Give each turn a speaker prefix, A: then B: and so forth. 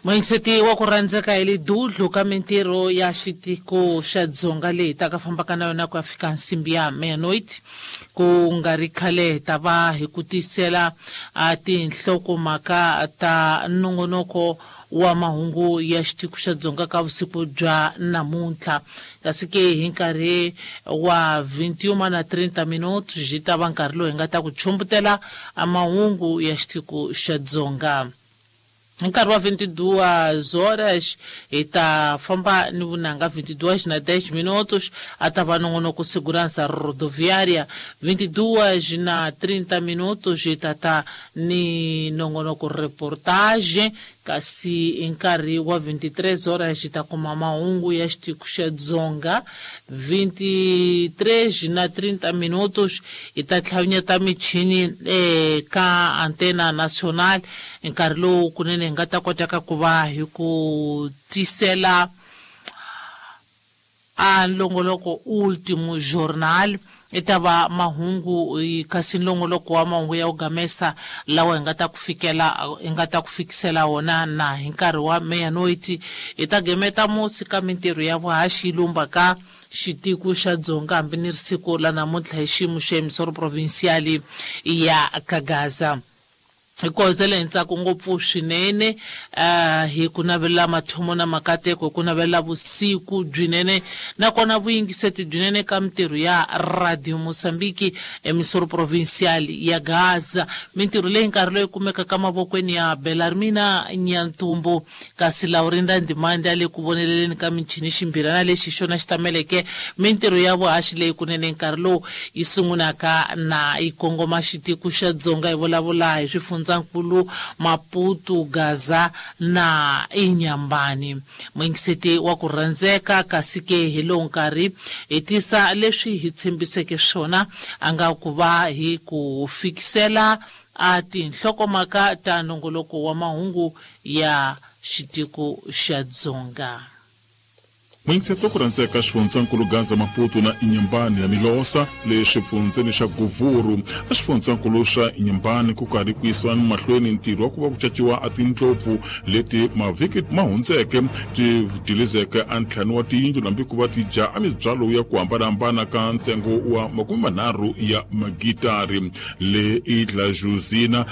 A: Muyingiseti wa ku rhandzeka, hi le dudlu ka mintirho ya xitiko xa Dzonga leyi taka fambaka na yona ku ya fika nsimbi ya meia-noite. Ku nga ri khale hi ta va hi ku tisela a tinhlokomhaka ta nongonoko wa mahungu ya xitiko xa Dzonga ka vusiku bya namuntlha. Kasi ke hi nkarhi wa 21 na 30 minutos byi ta va nkarhi lowu hi nga ta ku chumbutela a mahungu ya xitiko xa Dzonga. Hi nkarhi wa 22 horas hi ta famba ni vunanga, 22 na 10 minutos a ta va nongonoko Segurança Rodoviária, 22 na 30 minutos hi ta ta ni nongonoko Reportage, kasi hi nkarhi wa 23 horas hi ta kuma mahungu ya xitiko xa Dzonga. 23 na 30 minutos hi ta tlhavinyeta michini eka Antena Nacional, nkarhi lowu kunene hi nga ta kotaka ku va hi ku tisela a nlongoloko Ultimo Jornal, i ta va mahungu, kasi nlongoloko wa mahungu ya ku gamesa lawa hi nga ta ku fikela hi nga ta ku fikisela wona na hi nkarhi wa meia-noite. Hi ta gemeta musi ka mintirho ya vuhaxi yi lumba ka xitiko xa Dzonga hambi ni ri siku la namuntlha hi xiyimo xa emisoro provincial ya Kagaza. Hi kohozela hi ntsako ngopfu swinene, hi ku navelela mathomo na makateko, hi ku navelela vusiku byinene nakona vuyingiseti byinene ka mintirho ya Radio Mozambique emisoro provincial ya Gaza, mintirho leyi nkarhi loyi kumekaka mavokweni ya Belarmina Nyantumbu, kasi Laurinda Ndimande a le ku voneleleni ka michini. Ximbirana lexi hi xona xi tameleke mintirho ya vuhaxi leyi kunene nkarhi lowu yi sungulaka na yi kongoma xitiko xa Dzonga, hi vulavula hi swifundzankulu Maputo, Gaza na Inyambani. Muyingiseti wa ku rhandzeka, kasi ke hi lowu nkarhi hi tisa leswi hi tshembiseke swona, a nga ku va hi ku fikisela a tinhlokomhaka ta nongoloko wa mahungu ya xitiko xa Dzonga.
B: Muyingiseti wa ku rhandzeka, xifundzankulu Gaza, Maputo na Inhambane ya Milosa le xifundzeni xa Govuru. Exifundzankulu xa Inhambane ku karhi ku yisiwa mahlweni ntirho wa ku va ku caciwa a tindlopfu leti mavhiki ma hundzeke ti dilizeke a ntlhanu wa tiyindlu nambi ku va ti dya a mibyalo ya ku hambanahambana ka ntsengo wa 30 ya magitari le Idla Josina.